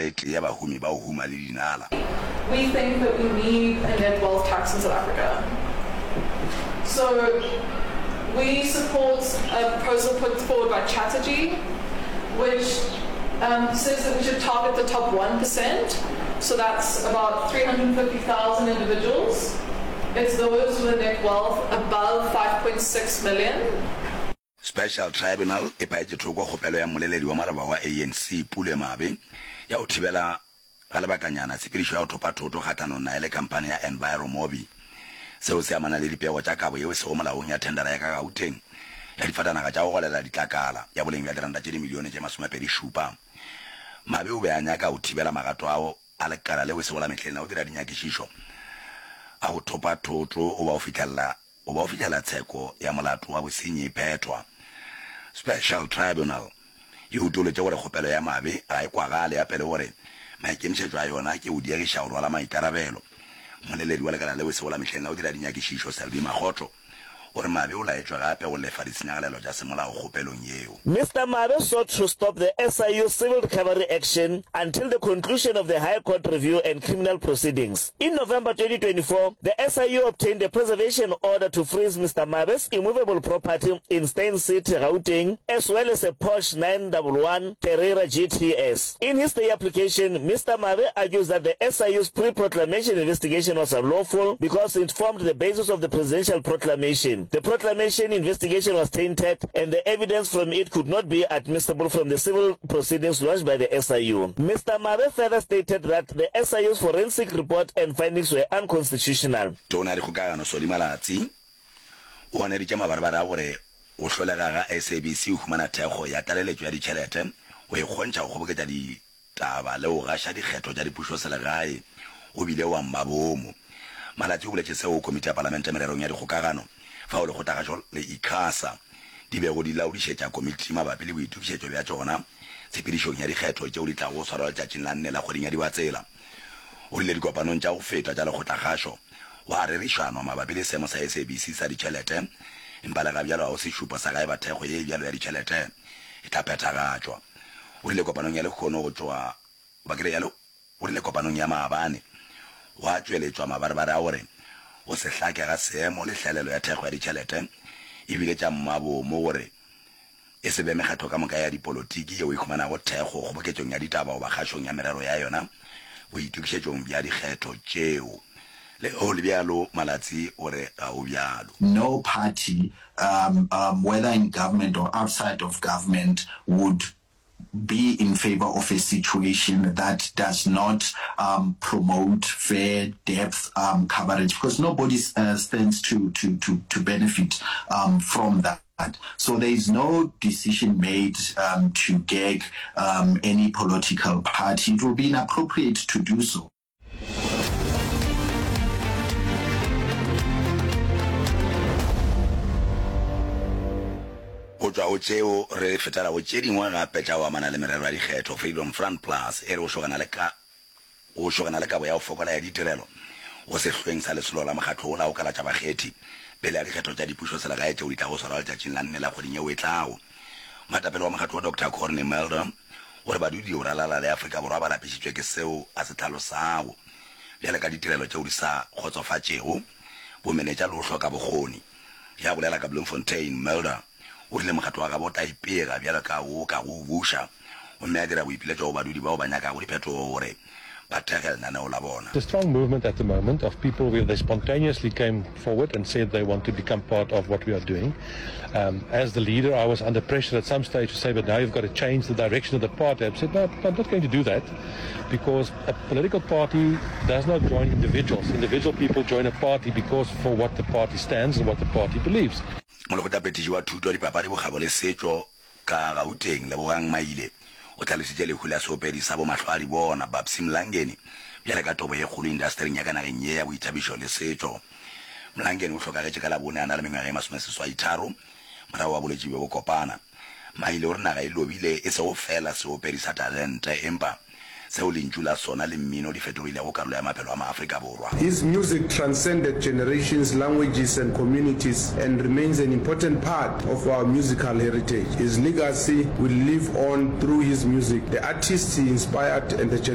e tee ya bahumi ba go huma le dinala. We think that we need a net wealth tax in South Africa. So we support a proposal put forward by Chatterjee, which um, says that we should target the top 1%. So that's about 350,000 individuals. It's those with a net wealth above 5.6 million. Special Tribunal e paetše thoko kgopelo ya mmoleledi wa maloba wa ANC, Pule Mabe, ya go thibela ga lebakanyana tshepedišo ya go thopa thoto kgahlanong naye le khamphani ya EnviroMobi. Seo se amana le dipego tša kabo yeo e sego molaong ya thendara ya ka Gauteng ya difatanaga tša go golela ditlakala ya boleng bja diranta tše dimilione tše masomepedi-šupa. Mabe o be a nyaka go thibela magato ao a lekala leo e sego la mehleng la go dira dinyakišišo a go thopa thoto goba go fihlelela go ba go fihlela tsheko ya molato wa bosenyi e phethwa. Special Tribunal e utolotše gore kgopelo ya Mabe ga e kwagale gape le gore maikemišetšo a yona ke go diegiša go rwala maikarabelo. Mmoleledi wa lekala leo e sego la mehleng la go dira dinyakišišo, Selby Makgotho, o re Mabe o laetšwe gape go lefa ditshenyagalelo tša semolao kgopelong yeo. Mister Mabe sought to stop the SIU civil recovery action until the conclusion of the High Court review and criminal proceedings. In November 2024, the SIU obtained a preservation order to freeze Mister Mabe's immovable property in Steyn City, Gauteng, as well as a Porsche 911 Carrera GTS. In his stay application, Mister Mabe argues that the SIU's pre-proclamation investigation was unlawful because it formed the basis of the presidential proclamation. The proclamation investigation was tainted and the evidence from it could not be admissible from the civil proceedings launched by the SIU. Mister Mabe further stated that the SIU's forensic report and findings were unconstitutional. Tona ya Dikgokagano Solly Malatsi o ganeditše mabarebare a gore go hlolega ga SABC go humana thekgo ya tlaleletšo ya ditšhelete go e kgontšha go kgoboketša ditaba le go gaša dikgetho tša dipušoselegae go bile wa mmabomo. Malatsi o boletše seo go Komiti ya Palamente Mererong ya Dikgokagano fao Lekgotlakgašo le Icasa di bego di laodišetša komiti mabapi le boitokišetšo bja tšona tshepedišong ya dikgetho tšeo di tlago go swarwa letšatšing la nne la kgweding ya Dibatsela. O rile dikopanong tša go feta tša lekgotlakgašo gwa rerišanwa mabapi le seemo sa SABC sa ditšhelete, empa le gabjalo ga go sešupo sa ga eba thekgo ye bjalo ya ditšhelete e tla phethagatšwa. O rile kopanong ya lehono go tšwa goba ke re ya O rile kopanong ya maabane gwa tšweletšwa mabarebare a gore go se hlake ga seemo le hlaelelo ya thekgo ya ditšhelete e bile tša mmabomo gore e se be mekgatlo ka moka ya dipolotiki yeo e humanago thekgo kgoboketšong ya ditaba goba kgašong ya merero ya yona boitokišetšong bja dikgetho tšeo. Le ge go le bjalo, Malatsi o re ga go bjalo. No party, um, um, whether in government or outside of government, would be in favor of a situation that does not um, promote fair depth um, coverage because nobody uh, stands to, to, to, to benefit um, from that. So there is no decision made um, to gag um, any political party. It will be inappropriate to do so. Go tšwa go tšeo re fetela go tše dingwe gape tša go amana le merero ya dikgetho. Freedom Front Plus e re go šogana le ka go šogana le kabo ya go fokola ya ditirelo go sehlweng sa lesolo la mokgatlo wola go kalatša bakgethi pele ga dikgetho tša dipušoselegae tšeo di tlago swarwa letšatšing la nne la kgweding yeo e tlago. Moetapele wa mokgatlo wo Doctor Corne Mulder o re badudi go ralala le Afrika Borwa ba lapišitšwe ke seo a se hlalosago bjale ka ditirelo tšeo di sa kgotsofatšego, bomenetša le go hloka bokgoni. Ge a bolela ka Bloemfontein, Mulder o rile mokgatlo wa gabo o tla ipega bjalo ka wo ka go o buša gomme a dira boipiletšo go badudi bao ba nyakago diphetogo gore ba thekge lenaneo la bona. It's a strong movement at the moment of people where they spontaneously came forward and said they want to become part of what we are doing. Um, as the leader, I was under pressure at some stage to say, but now you've got to change the direction of the party. I said, no, I'm not going to do that because a political party does not join individuals. Individual people join a party because for what the party stands and what the party believes. Molekgotlaphethiši wa Thuto, Dipapadi, Bokgabo le Setšo Ka Gauteng, Lebogang Maile o hlalositše lehu la seopedi sa bomahlwaadibona, Babsy Mlangeni, bjale ka tobo ye kgolo indastering ya ka nageng ye ya boithabišo le setšo. Mlangeni o hlokagetše ka Labone a na le mengwaga ye masomeseswaitharo morago ga bolwetši bjo bokopana. Maile o re naga e lobile e sego feela seopedi sa talente empa seo lentšu la sona le mmino di fetogilego karolo ya maphelo a maAfrika Borwa. His music transcended generations, languages and communities and remains an important part of our musical heritage. His legacy will live on through his music, the artists he inspired and the.